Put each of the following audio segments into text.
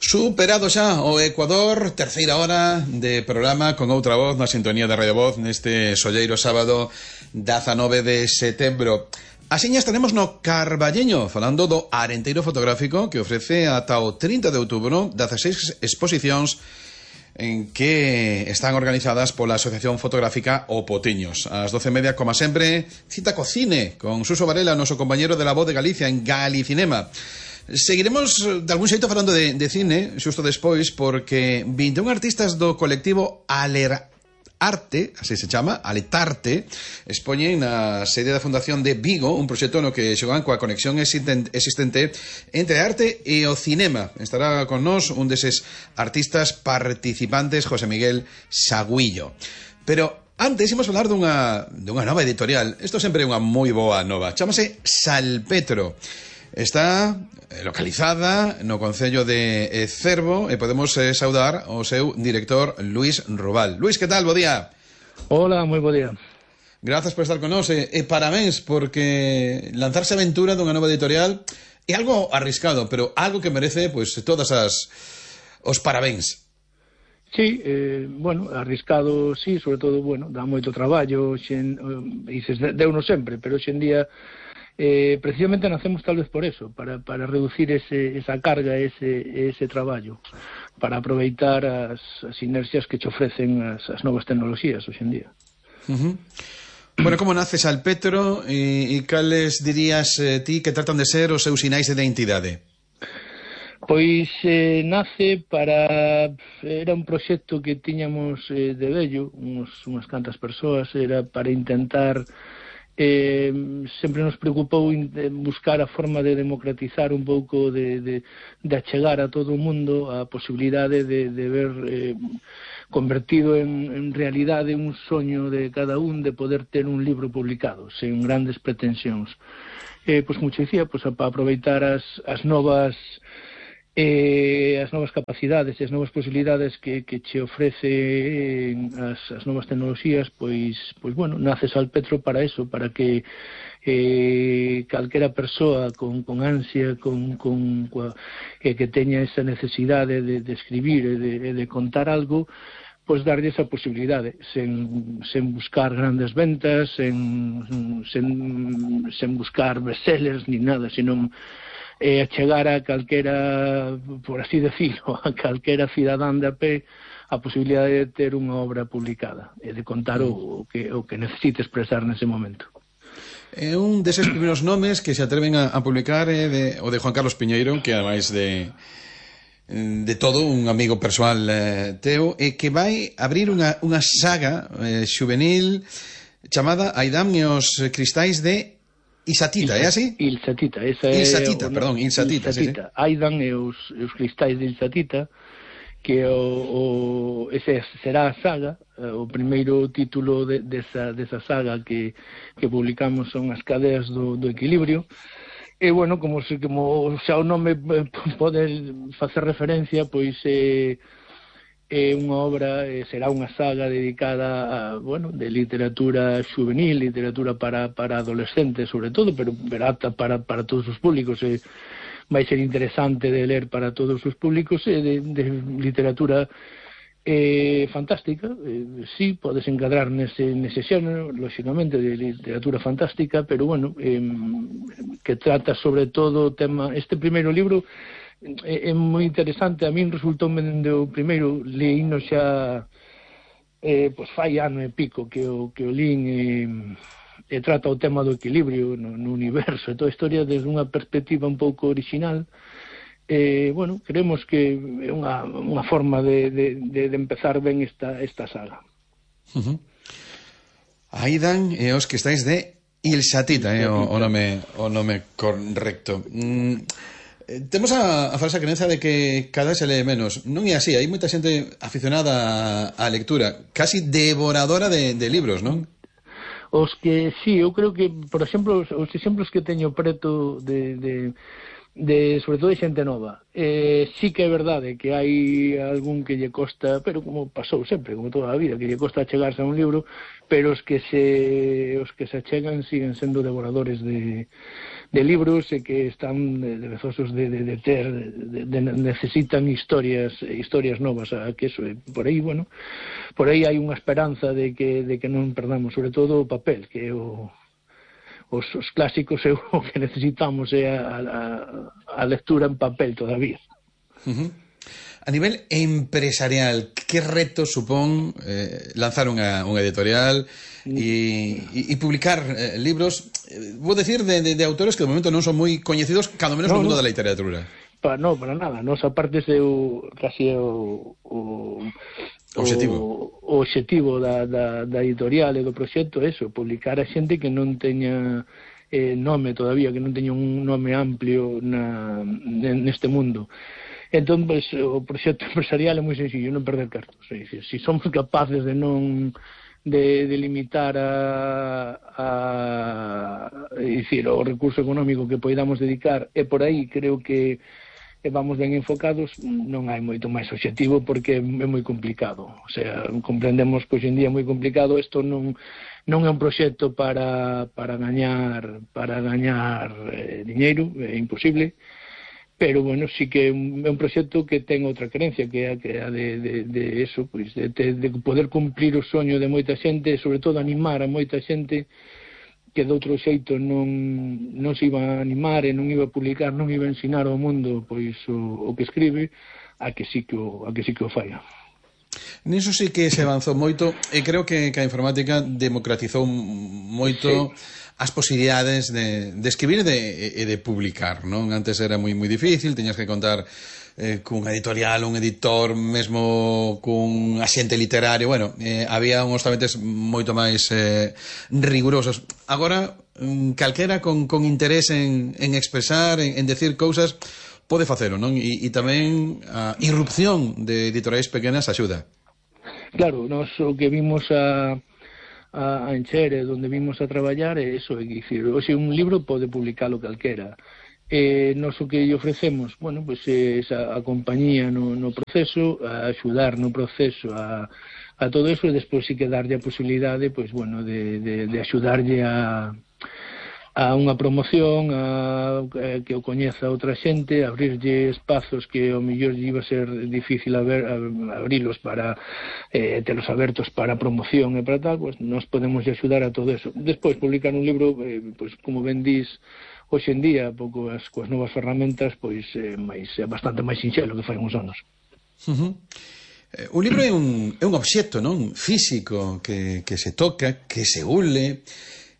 Superado xa o Ecuador, terceira hora de programa con outra voz na sintonía de Radio Voz neste solleiro sábado 19 de setembro. Asiña estaremos no Carballeño falando do Arenteiro Fotográfico que ofrece ata o 30 de outubro 16 exposicións en que están organizadas pola Asociación Fotográfica O Potiños. Ás 12:30, como sempre, cita co cine con Suso Varela, noso compañero de La Voz de Galicia en Galicinema. Seguiremos de algún xeito falando de cine xusto despois porque 21 artistas do colectivo Alerarte, así se chama, Aletarte, expoñen na sede da Fundación de Vigo un proxecto no que xogan coa conexión existente entre a arte e o cinema. Estará con nós un deses artistas participantes, José Miguel Saguillo. Pero antes imos falar dunha nova editorial. Isto sempre é unha moi boa nova. Chámase Salpetro. Está localizada no concello de Cervo e podemos saudar o seu director Luís Rubal. Luís, que tal? Bo día. Hola, moi bo día. Grazas por estar con nós e parabéns porque lanzarse a aventura dunha nova editorial é algo arriscado, pero algo que merece pois todas os parabéns. Sí, bueno, arriscado, sí, sobre todo, bueno, dá moito traballo, dices, deuno sempre, pero hoxe en día precisamente nacemos tal vez por eso, para reducir esa carga, ese traballo, para aproveitar as inercias que che ofrecen as novas tecnoloxías hoxe en día. Bueno, como nace Salpetro e cales dirías ti que tratan de ser os seus sinais de identidade? Pois nace era un proxecto que tiñamos de vello, unhas cantas persoas, era para intentar sempre nos preocupou buscar a forma de democratizar un pouco, de achegar a todo o mundo a posibilidade de ver convertido en realidade un soño de cada un de poder ter un libro publicado sen grandes pretensións. Pois como dicía, pois para aproveitar as novas capacidades e as novas posibilidades que che ofrece as novas tecnoloxías, pois bueno, nace Salpetro para eso, para que calquera persoa con ansia, que teña esa necesidade de escribir e de contar algo, pois darlle esa posibilidade, sen buscar grandes ventas, sen buscar bestsellers ni nada, senón achegar a calquera, por así decirlo, a calquera cidadán de a pé a posibilidade de ter unha obra publicada e de contar o que necesite expresar nese momento. É un deses primeiros nomes que se atreven a publicar o de Juan Carlos Piñeiro, que ademais de todo un amigo persoal teu, e que vai abrir unha saga xuvenil chamada Aidam e os cristais de Ilsatita, é así? Ilsatita, Ilsatita. Sí. Aidan e os cristais de Ilsatita, que ese será a saga, o primeiro título desa saga que publicamos son As cadeas do equilibrio. E, bueno, como xa o nome pode facer referencia, pois é unha obra, será unha saga dedicada de literatura juvenil, literatura para adolescentes sobre todo, pero apta para todos os públicos, vai ser interesante de ler para todos os públicos, de literatura fantástica, sí, podes encadrar nese xénero, lógicamente, de literatura fantástica, pero bueno, que trata sobre todo o tema, este primeiro libro é moi interesante. A min resultou o primeiro, leíno xa pois fai ano e pico que o lín, e trata o tema do equilibrio no universo e toda a historia desde unha perspectiva un pouco original. Bueno, creemos que é unha forma de empezar ben esta saga. Aidan e os que estáis de Ilsatita, o nome correcto. Temos a falsa creencia de que cada vez se lee menos. Non é así, hai moita xente aficionada á lectura, casi devoradora de libros, non? Os que, sí, eu creo que, por exemplo, os exemplos que teño preto sobre todo de xente nova, sí que é verdade que hai algún que lle costa, pero como pasou sempre, como toda a vida, que lle costa achegarse a un libro, pero os que se achegan siguen sendo devoradores libros e que están deseosos de ter, necesitan historias novas, que eso, por aí, bueno, por aí hai unha esperanza de que non perdamos, sobre todo o papel, que é os clásicos é o que necesitamos, é a lectura en papel todavía. A nivel empresarial, que reto supón lanzar unha editorial e publicar libros, vou decir, de autores que de momento non son moi coñecidos, cando menos no mundo da literatura? Para nada. Nos aparte é casi o obxectivo da editorial e do proxecto, eso, publicar a xente que non teña nome todavía, que non teña un nome amplio neste mundo. Entón, pues, o proxecto empresarial é moi sencillo, non perder cartos. É dicir, se somos capaces de non de limitar o recurso económico que poidamos dedicar, e por aí creo que vamos ben enfocados, non hai moito máis obxectivo, porque é moi complicado. O sea, comprendemos que hoxe en día é moi complicado. Isto non é un proxecto para gañar diñeiro, é imposible. Pero, bueno, sí que é un proxecto que ten outra creencia, que é a de eso, pois, de poder cumplir o soño de moita xente, e, sobre todo, animar a moita xente que de outro xeito non se iba a animar e non iba a publicar, non iba a ensinar ao mundo pois o que escribe, a que sí que o falla. Niso sí que se avanzou moito, e creo que a informática democratizou moito as posibilidades de escribir e de publicar, non? Antes era moi difícil, teñas que contar cun editorial, un editor, mesmo cun axente literario. Bueno, había uns trámites moito máis rigurosos. Agora, calquera con interés en expresar, en decir cousas, pode facelo, non? E tamén a irrupción de editoriais pequenas axuda. Claro, nós o que vimos a Encher, donde vimos a traballar, é iso, é dicir, hoxe un libro pode publicalo calquera. Nos o que lle ofrecemos, bueno, pois a compañía no proceso, a axudar no proceso a todo eso, e despois sí que darlle a posibilidade, pois, bueno, de axudarlle a unha promoción, que o coñeza outra xente, abrirlle espazos que ao mellor iba a ser difícil abrilos para telos abertos para promoción e para tal, pues nos podemos axudar a todo eso. Despois, publicar un libro, pues, como ben dís, hoxe en día, pouco coas novas ferramentas, pois é bastante máis sinxelo que fai uns anos. Un libro é un obxecto, non? Físico, que se toca, que se ule.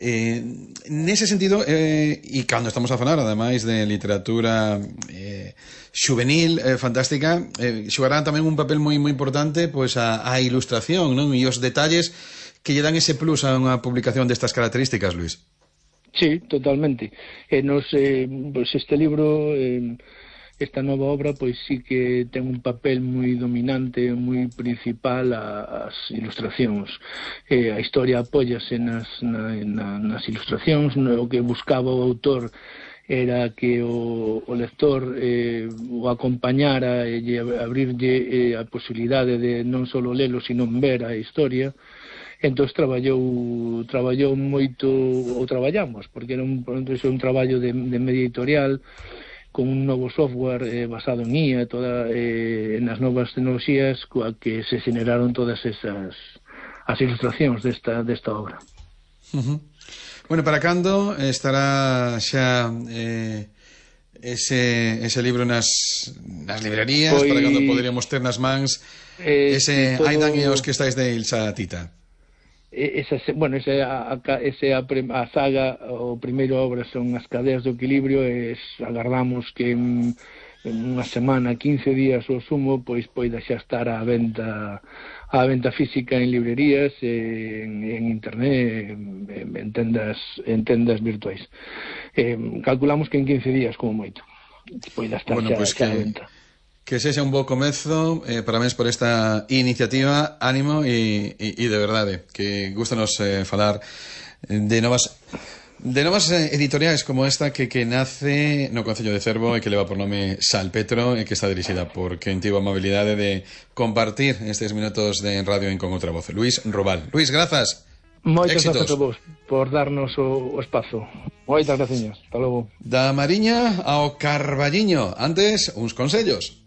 Nese sentido, e cando estamos a falar ademais de literatura xuvenil, fantástica, xogarán tamén un papel moi importante, pois a ilustración, non? E os detalles que lle dan ese plus a unha publicación destas características, Luís. Sí, totalmente. Pois este libro, esta nova obra, pois sí que ten un papel moi dominante, moi principal as ilustracións. A historia apóllase nas ilustracións. O que buscaba o autor era que o lector o acompañara e abrirlle a posibilidade de non só lelo, sino ver a historia. Entón traballou moito, ou traballamos, porque era un traballo de media editorial, con un novo software basado en IA, nas novas tecnoloxías, coa que se generaron todas as ilustracións desta obra. Bueno, para cando estará xa ese libro nas librerías? Para cando poderíamos ter nas mans ese Aidan e os que estáis de Ilsa Tita? A saga, o primeiro obra son As cadeas do equilibrio, e agardamos que en unha semana, 15 días ou sumo, pois poida xa estar á venta física en librerías, en internet, en tendas virtuais. Calculamos que en 15 días como moito poida estar xa á venta. Que sexa un bo comezo, parabéns por esta iniciativa, ánimo e de verdade, que gustanos falar de novas editoriais como esta que nace no Concello de Cervo e que leva por nome Salpetro e que está dirixida por quen tivo a amabilidade de compartir estes minutos de radio en Con Outra Voz, Luís Robal. Luís, grazas. Moitas Éxitos. grazas a vos por darnos o espazo. Moitas graciñas. Hasta logo. Da Mariña ao Carballiño. Antes, uns consellos.